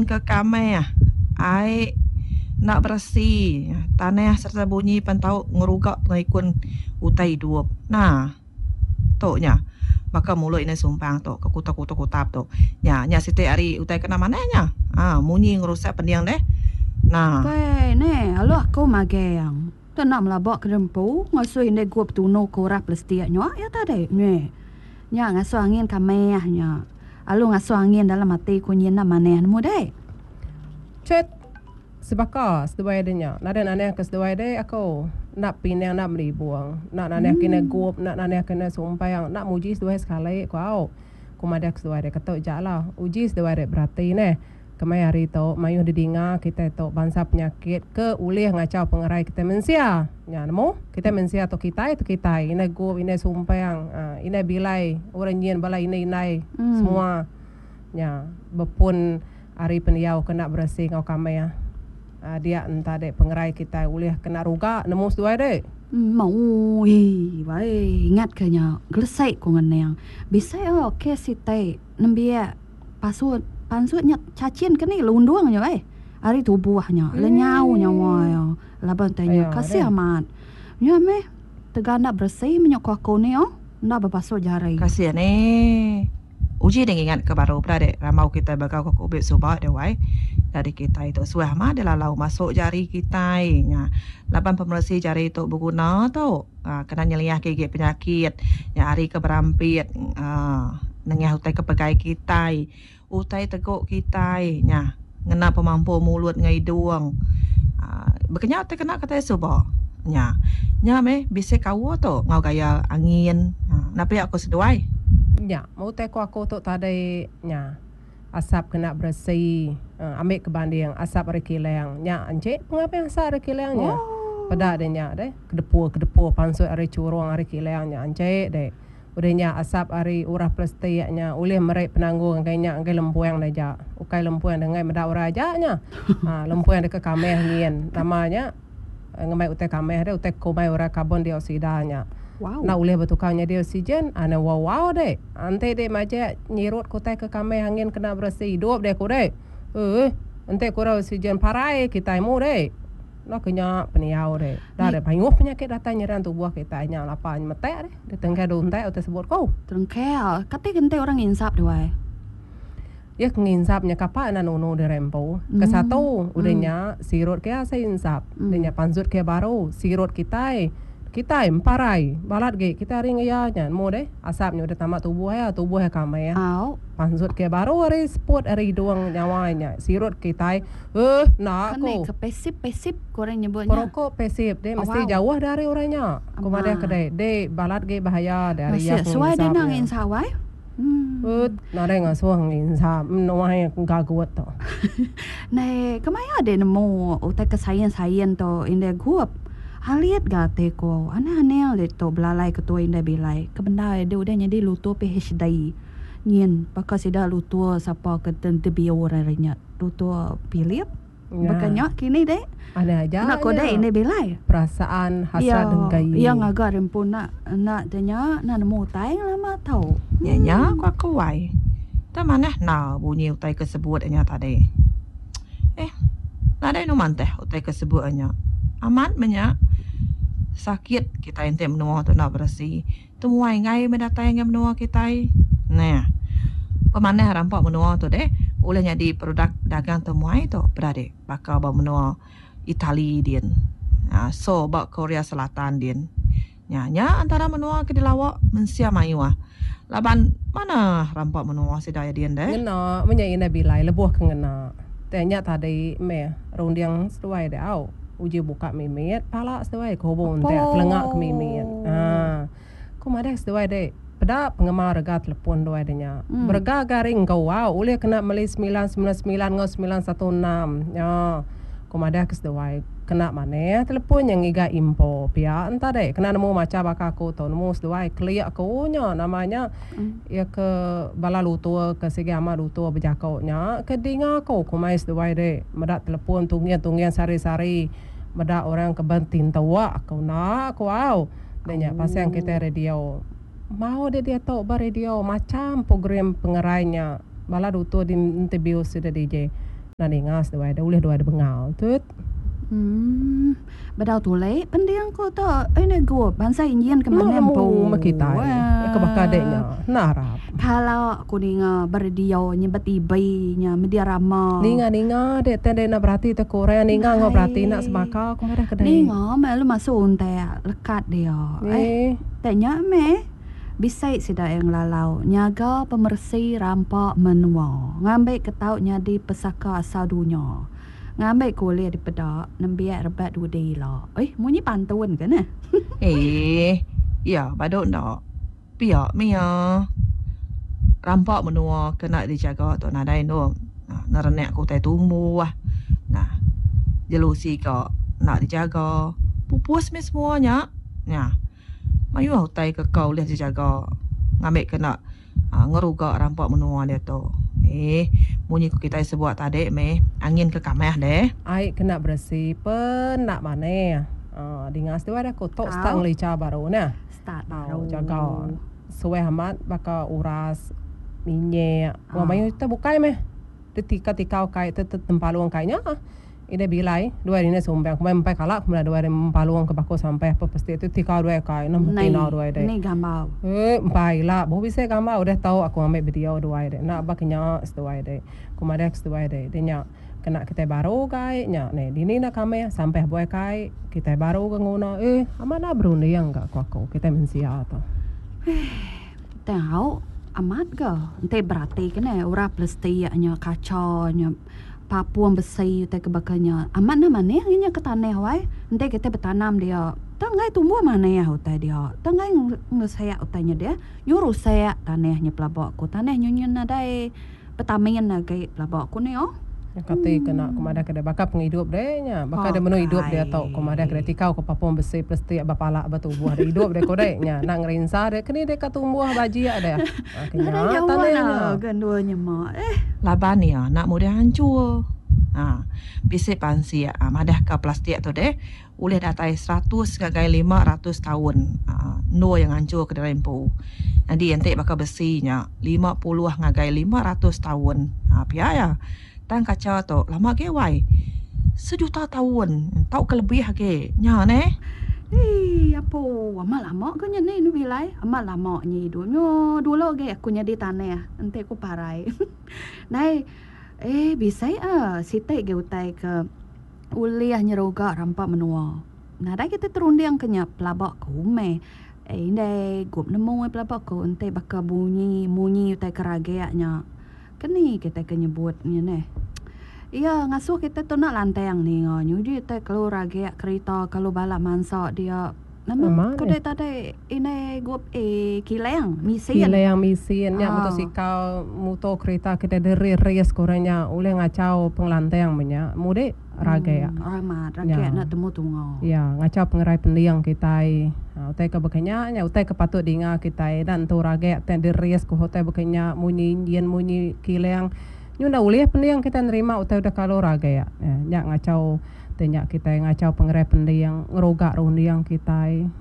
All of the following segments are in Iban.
ke kamah, ai enda beresi, tanah sereta bunyi pan tau ngeruga pengelikun utai idup. Nah. Tu nya. Baka mulut indai Sumpang tu ke kutap-kutap tu. Nya, nya siti ari utai kena manah nya. Ha, munyi ngerusak pending deh. Nah. Pei neh, alu aku magang. Tu enda melaba ke dempu ngasuh indai gup tunu ke urah plestik nya iya tadi. Neh. Nya ngasuh angin kamah nya. Alu ngasuh angin dalam ati ku nyin enda manah nemu deh. Chet. Sebaka seduai deh nya. Nadai nanah ke seduai deh aku. Enda pinang enda melibung. Enda nanah ke ina gup, enda nanah ke ina sumpang, enda muji seduai sekali ku au. Ku madah ke seduai deh ketu ja lah. Uji seduai deh berati neh. Kemaya hari tu mayuh didinga kitai tu bansa penyakit ke ulih ngachau pengerai kitai mensia. Nya nemu kitai mensia tu kitai tu kitai ina gup, ina sumpang, aaa ina bilai orang nyin bala indai-indai semua. Nya bepun Ari pendiau kena beresi enggau kamih dia enta dek pengerai kitai ulih kena ruga nemu seduai dek. Mui wai ingat ke nya gelesei ku ngening bisi o kes siti nembiak pasut pansut nya cachin ke ni lundung nya weh ari tubuh nya lenyau nyawa iya laban tai nya kasih amat nya meh tegal enda beresi meh nya ku aku ni o enda bebasuh jari. Kasih ni. Uji deh ngingat ke baru peda deh rambau kitai begau ke kubit suba deh wai. Nyadi kitai tu suah mah deh lalau masu jari kitai nya laban pemeresi jari tu beguna tu aaa kena nyeliah ke igi penyakit nya ari ke berampit aaa nengah utai ke pegai kitai utai tegu kitai nya ngena pemampu mulut enggau idung aaa baka nya ti kena kitai suba nya. Nya meh bisi kaul tu enggau gaya angin aaa enda pia ku seduai. Nya. Meh utai ku aku tu tadi nya asap kena beresi ambi ke banding asap ari kilang nya encik pengabih asap ari kilang nya peda deh nya deh kedepu kedepu pansut ari churung ari kilang nya encik deh udah nya asap ari urah plestik nya ulih meri penanggul ngagai nya ngagai lempuang ne aja ukai lempuang ne enggai meda orang aja nya uhh lempuang deka kamih nyin nama nya. Ngemai utai kameh deh utai kumbai orang karbon dioksida nya. Enda ulih betukar nyadi oksigen anu wow wow deh. Enti deh majak nyirut ke utai ke kameh angin kena beresi idup deh ku deh. Eeh enti kurang oksigen parai kitai mu deh. Enda ke nya pendiau deh. Dah deh mayuh penyakit datai nyerang tubuh kitai nya lapa nyemetak deh. Deh tengkai deh untak utai sebut ku. Terengkel. Kati ke enti orang nginsap deh wai. Iya ke nginsap nya kapa enda nunu diri empu. Kesatu, udah nya sirut ke asai insap. Udah nya pansut ke baru sirut kitai. Kitai emparai balat gi kitai ari ngeya nya nemu deh. Asap nya udah tama tubuh iya, tubuh iya kamih. Pansut ke baru ari seput ari idung nyawa iya nya sirut kitai. Ehh enda ku. Ke pasif pasif ku orang nyebut nya. Perokok pasif deh mesti jauh dari orang nya. Ku madah ke deh, deh balat gi bahaya deh ari iya ke nginsap nya. Ut, nadai ngasuh nginsap menuai gagut tu. Neh, kemaya dek nemu utai ke sain-sain tu indai gup. Alit ga ati ku. Anang-anang dek tu belalai ketua indai bilai. Ke bendar dek udah nyadi lutur PHD. Nyin, baka sida lutur sapa ke interview hari nya. Lutur Philip. Baka nya kini dek. Aneh aja Enda ko dek indai bilai. Perasaan hasrat dengkai. Iya ngaga ari empu enda enda te nya enda nemu utai ngelama tau. Nya nya ku aku ai. Tang manah enda bunyi utai ke sebut nya tadi. Eh nadai anu mantah utai ke sebut nya. Amat meh nya. Sakit kitai enti menua tu enda beresi. Temuai enggai meh datai ngagai menua kitai. Neh. Pemanah rampa menua tu deh ulih nyadi produk dagang temuai tu peda deh baka ba menua Itali din. Aaa so ba Korea Selatan din. Nya nya antara menua ke dilawa mensia mayuh laban manah rampa menua sida iya din deh. Ngena meh nya indai bilai lebuh ke ngena. Tang nya tadi meh runding seduai deh au. Uji buka mimit pala seduai ke hubung entek kelenga ke mimit. Haa. Ku madah seduai dek peda pengemar rega telepon duai deh nya. Berega ga ari enggau au ulih kena meli 999 enggau 916. Nya. Ku madah ke seduai kena manah telepon nya ngiga info pia enta dek kena nemu macha baka aku tu nemu seduai kelia ku nya nama nya. Iya ke bala lutur ke sigi amat lutur bejako nya ke dinga aku kumai seduai dek meda telepon tungin-tungin sehari-sehari meda orang ke betintua aku enda ku au deh nya pasang kitai radio. Mau deh diatu ba radio macham program pengerai nya bala lutur di interview sida DJ. Enda ninga seduai deh ulih duai deh bengal tut. Uhh bedau tulik pending ku tu ini gup bansa injin ke manah empu. Nemu meh kitai ke baka dek nya enda arap. Kala ku ninga ba radio nya ba TV nya media rama. Ninga ninga dek te dek enda berati te ku orang ninga enggau berati enda sebaka ku madah ke dek. Ninga meh lalu masu untak lekat dia. Eh te nya meh. Bisi sida iya ngelalau nyaga pemeresi rampa menua ngambika tau nyadi pesaka asal dunya ngambika ulih dipeda nembiak rebak dudi ila. Eih munyi pantun ke neh. Eih iya badu enda pia mih iya rampa menua ke enda dijaga tu nadai endur nerenak ke utai tumbuh nah jelu siga enda dijaga pupus mih semua nya. Nya. Mayuh utai ke ka ulih dijaga ngambika enda ngeruga rampa menua diatu. Eeh munyi ku kitai sebuat tadi mih angin ke kamah deh. Ai kena beresi pen enda manah. Aaa dinga seduai dah ku tok start ngelicha baru neh. Start baru. Au jaga suah amat baka uras, minyak enggau mayuh utai bukai meh. Tetikau-tikau kai te tempalung kai nya. Idai bilai duai dini sumbang ku empai kala ku meda duai deh empalung ke baku sampai ape pasti tu tikau duai kai neh Nei tina duai deh. Nei gambar. Eh empai ila boh bisi gambar udah tau aku ngambi video duai deh enda ba kenya seduai deh. Ku madah ke seduai deh deh nya kena kitai baru kai nya neh dini enda kamih sampah buai kai kitai baru ke nguna eh amat enda berunding ga ku aku kitai mensia tu. Heh tau amat ga enti berati ke neh orang plastik nya kacha nya. Papung besi utai ke baka nya amat nah manih ngi nya ke tanah wai enti kitai betanam dia tang enggai tumbuh manih utai dia tang enggai ngeresak utai nya deh nyu rusak tanah nya pelaba ku tanah nyu nyu nadai vitamin agi pelaba ku ni oh. Kati ke enda ku madah ke deh baka pengidup deh nya baka deh menu idup diatu ku madah ke deh tikau ke papung besi plastik ba pala ba tubuh deh idup deh ku deh nya enda ngerinsa deh keni deh ka tumbuh bajik deh. Nadai jauh lah ga endur nyema eh. Laban iya enda mudah hancur. Ha bisi pansik madahka plastik tu deh ulih datai 100 ngagai 500 taun ha endur iya ngancurka diri empu. Nyadi enti baka besi nya 50 ngagai 500 taun ha pia iya. Tang kacha tu lama agi wai sejuta taun tauka lebih agi nya neh. Hii apo amat lama ke nya ni bilai amat lama nya idup nyo dulu agi aku nyadi tanah enti ku parai nai eh bisi ah siti agi utai ke ulih nyeruga rampa menua nadai kita terunding ke nya pelaba ku meh eh indai gup nemu pelaba ku enti baka bunyi munyi utai ke ragak nya. Keni kitai ke nyebut nya neh. Iya ngasuh kitai tu enda lantang ninga nyuji tai keluar agi kerita kalu bala mansa dia. Nama ku deh tadi indai gup eh kilang misin. Kilang misin nya motosikal muto kerita kitai deri-ris ku orang nya ulih ngachau pengelantang meh nya. Mudi ragak. Amat ragak enda temu tunga. Ya ngachau pengerai pending kitai. Utai ke baka nya nya utai ke patut dinga kitai enda nentu ragak tai deris ku utai baka nya munyi enjin munyi kilang nyu enda ulih pending kitai nerima utai udah kalu ragak. Nya ngachau ti nya kitai ngachau pengerai pending ngeruga runding kitai.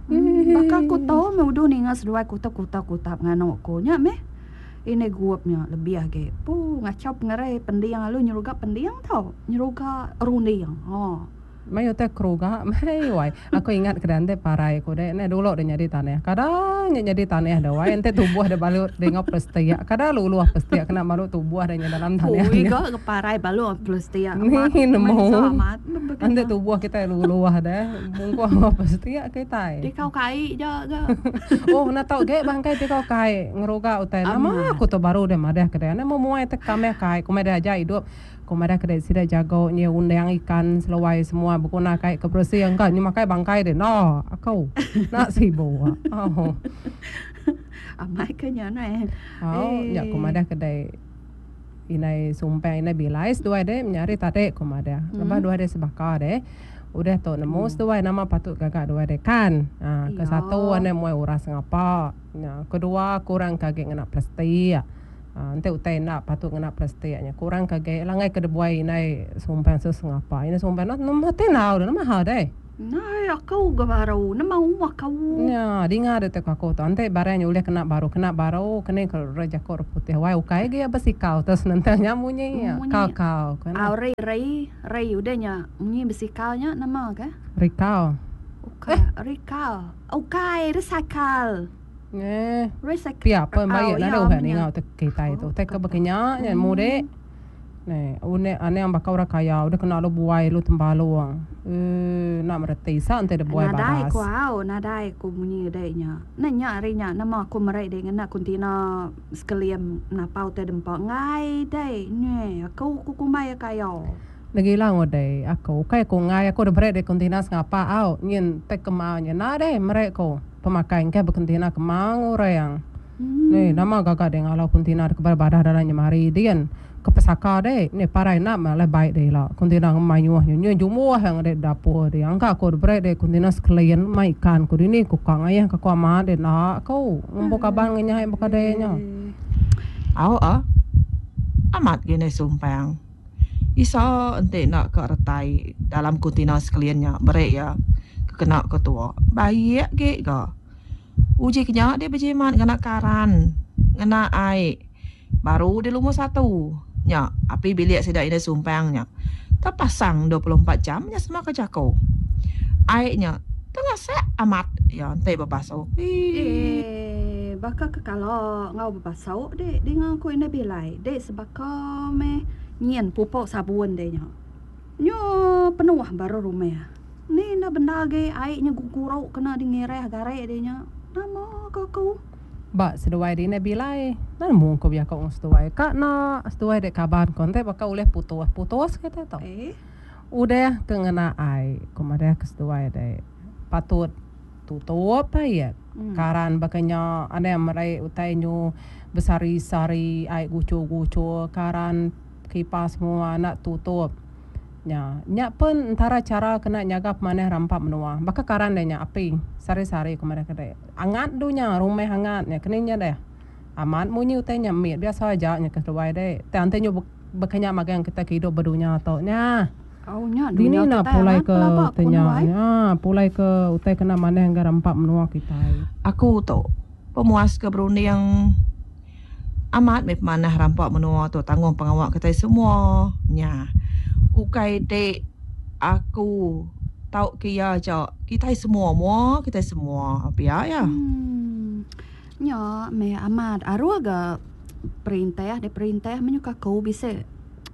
Baka ku tu meh uduh ninga seduai kutap kutap kutap nganu ku nya meh. Indai gup nya lebih agi. Pu ngachau pengerai pending lalu nyeruga pending tau. Nyeruga runding. Ha. Mai utai keruga meh wai. Aku ingat ke enti parai ku dek neh dulu deh nyadi tanah. Kada nya nyadi tanah deh wai enti tubuh deh balut deh enggau plestik. Kada luluh plestik kena balut tubuh deh nya dalam tanah Ui ga ke parai balut plestik. Ni nemu. Enti tubuh kitai luluh deh bungkuh enggau plestik kitai. Tikau kai ja ga. Oh enda tau ge bangkai tikau kai ngeruga utai. Nama aku tu baru deh madah ke deh. Enda memuai te kamih kai ku meh deh aja idup. Ku madah ke dek sida jago nyi undang ikan seluai semua beguna kai ke beresi engka nyi makai bangkai dek enda aku enda sibu oh. Amai ke nya neh. Au nya ku madah ke dek indai sumpang indai bilai seduai dek menyadi tadi ku madah. Lebuh duai dek sebaka deh udah tu nemu seduai nama patut gaga duai dek kan. Aa ke satu ane muai uras ngapa. Nya kedua kurang ke agi ngena plastik. Enti utai enda patut ngena plastik nya kurang ke agi langai ke dibuai indai sumpang sesengapa. Indai sumpang nama ti enggau deh nama hal deh. Nai aku ga baru nemu aku. Nya dinga deh tu aku tu enti barang nya ulih kena baru kena baru keni ke re jaku orang putih wai ukai agi iya besikal tu senentang nya munyi Munyi kau kau ku au rei rei rei udah nya munyi besikal nya nama ka? Rikau. Ukai rikal ukai recycle. Eh Recycle pia pen au baik iya nadai uhan menya. ninga utai kitai tu Oh utai ke kata. baka nya nya mudik. Neh unik anang baka orang kaya udah kena lu buai lu tembalung eee enda mereti sa enti deh buai Nadai badas. ku au nadai ku munyi dek nya. Neh nya ari nya nama aku meri dek ngena kuntina sekelim napau tai dempa enggai dek neh aku ku kumbai iya kaya. Negila ngudei aku ukai ku enggai aku deh meri dek kuntina sengapa au nyin tai kemau nya enda deh meri ku pemakai engkeh bekuntina kemau orang. Neh nama gaga dek ngalau kuntina dek kebal badah dalam nyemari din. Ke pesaka dek neh parai enda meh alai baik dek ila kuntina ngemayuh nya nyu jumbuh iya dek dapur dia angka ku diberi dek kuntina sekelian mai ikan ku dini ku ka ngayah ka ku amat dek enda ku ngempu kaban ngenyai baka dek nya. Au ah. Amat gi ndai sumpang. Isa enti enda ka retai dalam kuntina sekelian nya beri iya ke kena ke tua. Baik gi ga. Uji ke nya deh bejimat ngena karan ngena ai. Baru di lumur satu nya api bilik sida indai Sumpang nya tepasang 24 jam nya sema ke jaku. Ai nya tengasak amat iya enti bebasu. Hii. Eh baka ke kala enggau bebasu dek dinga ku indai Bilai dek sebaka meh nyin pupok sabun dek nya. Nyu penuh baru rumah. Ni enda bendar agi ai nya guguruk kena dingirah gari dek nya. Nama ka aku. Ba seduai di indai bilai, enda nemu ku bejaku enggau seduai. Ka enda seduai dek kaban ku enti baka ulih putus, putus kitai tu. Udah ke ngena ai ku madah ke seduai dek patut tutup ai karan baka nya anang meri utai nyu besari-sari ai guchur-guchur karan kipas semua enda tutup. Nya. Nya pen entara chara kena nyaga pemanah rampa menua. Baka karan deh nya api sehari-sehari ku madah kedai. Angat dunya rumah angat nya keni nya deh. Amat munyi utai nya mit biasa aja nya ke seduai deh. Tang enti nyu baka nya magang kitai ke idup ba dunya tu nya. Au nya Dini dunya enda kitai pulai amat ke pelaba utai ku nya nuai. nya pulai ke utai kena manah enggau rampa menua kitai. Aku tu pemuas ke berunding. Amat meh pemanah rampa menua tu tanggung pengawa kitai semua nya. Ukai ti aku tauka iya aja kitai semua mua kitai semua pia iya. Uhh nya meh amat aruh ga perintah deh perintah menyuka aku bisi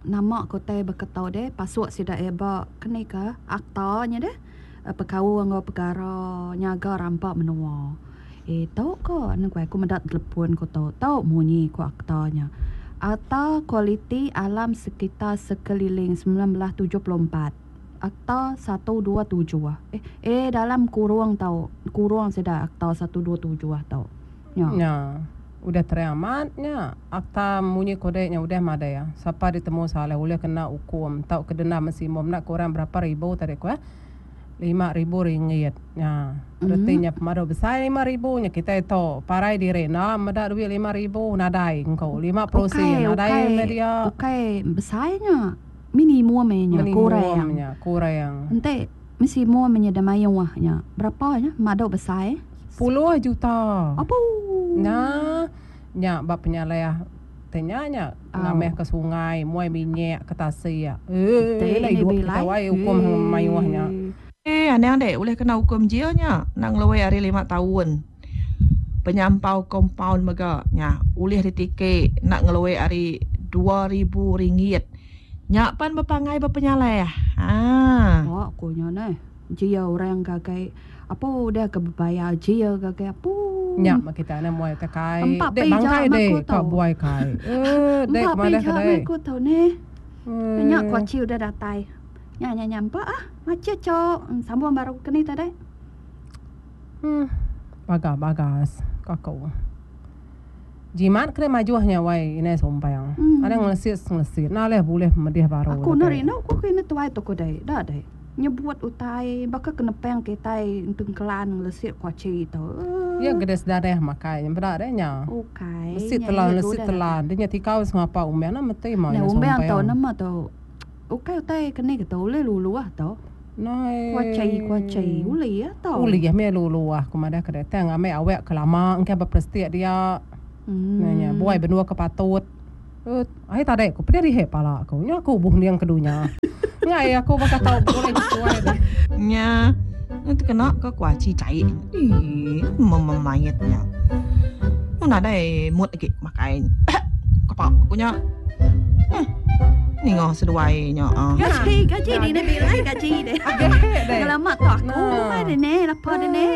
nama ku utai baka tu deh pasuk sida iya ba keni ka akta nya deh bekaul enggau pekara nyaga rampa menua. Eh tau ko anu ku aku meda telepon ku tu. Tau munyi ku akta nya. Akta Kualiti Alam Sekitar Sekeliling 1974. Akta 127. Eh eh dalam kurung tau kurung sida akta 127 tau. Nya. Nya. Udah terang amat nya. Akta munyi kodek nya udah madai. Sapa ditemu salah ulih kena ukum tauka denda maksimum enda kurang berapa ribu tadi ku eh. 5000 ringgit nya. Reti nya pemadu besai 5000 nya kitai tu parai diri enda meda duit 5000 nadai engku 50 sen nadai meh dia. Ukai besai nya minimum nya kurang. Minimum nya kurang. Enti minimum nya da mayuh nya berapa nya madu besai? 10 juta. Apu. Nya nya ba penyalih ti nya nya ngamih ke sungai muai minyak ke tasik. Eee enda idup kitai wai ukum mayuh nya. Eh anang deh ulih kena ukum jil nya enda ngeluai ari lima taun. Penyampau kompaun mega nya ulih ditiki enda ngeluai ari 2000 ringgit. Nya pan bepangai bepenyalah. Haa. Ba ku nya neh. Jia orang gagai apu udah ke bebayar jia gagai apu. Nya meh kita nya muai utai kai. Dek bangkai dek ka buai kai. Eh dek Empa madah pija ke meh dek. ku tau neh. Nya ku aci udah datai. Nya nya nya empa ah. Macit cok sambung baru ke ni tadi. Hmm baga bagas ka aku. Jimat kena majuh nya wai indai sumpang. Anang ngelesit ngelesit enda alih bulih pemedih baru. Aku enda rindu ku ke indai tuai tu ku dei. Da dei. Nyebut utai baka ke nepang kitai tengkelan ngelesit ku aci tu. Iya ke deh sedadah makai nya peda deh nya. Ukai. Lesit telan lesit telan. Dia nya tikau sengapa umang enda meti ma indai sumpang. Umang tu nama tu. Ukai utai ke ni ke tu ulih luluh tu. Nai. Kuachai kuachai ulih iya tau. Ulih meh luluh aku madah ke tang ambi awak ke lama engka beperestik dia. Hmm. Nya buai benua ke patut. Eh, ai tadi aku pedih rihe pala aku. Nya aku buh ending ke dunya. Ngai aku baka tau begulai sesuai deh. Nya tekena ke kuaci chai. Ih, memayit nya. Mu nadai mood agi makai. Kapa ku nya. Hmm. Ninga seduai nya. Ah. Gaji, gaji di ne bilai gaji deh. Lama tu aku mai deh ne, lapa deh ne.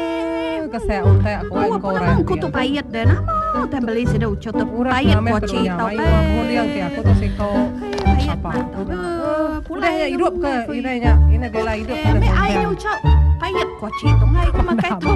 Kesek utak aku ai ko orang. Aku tu payet deh nama utai beli sida uchu tu payet kuaci tau eh. Nguling ke aku tu siko. Payet Pulai nya hidup ke ina nya ina bela hidup ke. Ai uchu payet kuaci tu ngai ke makai tu.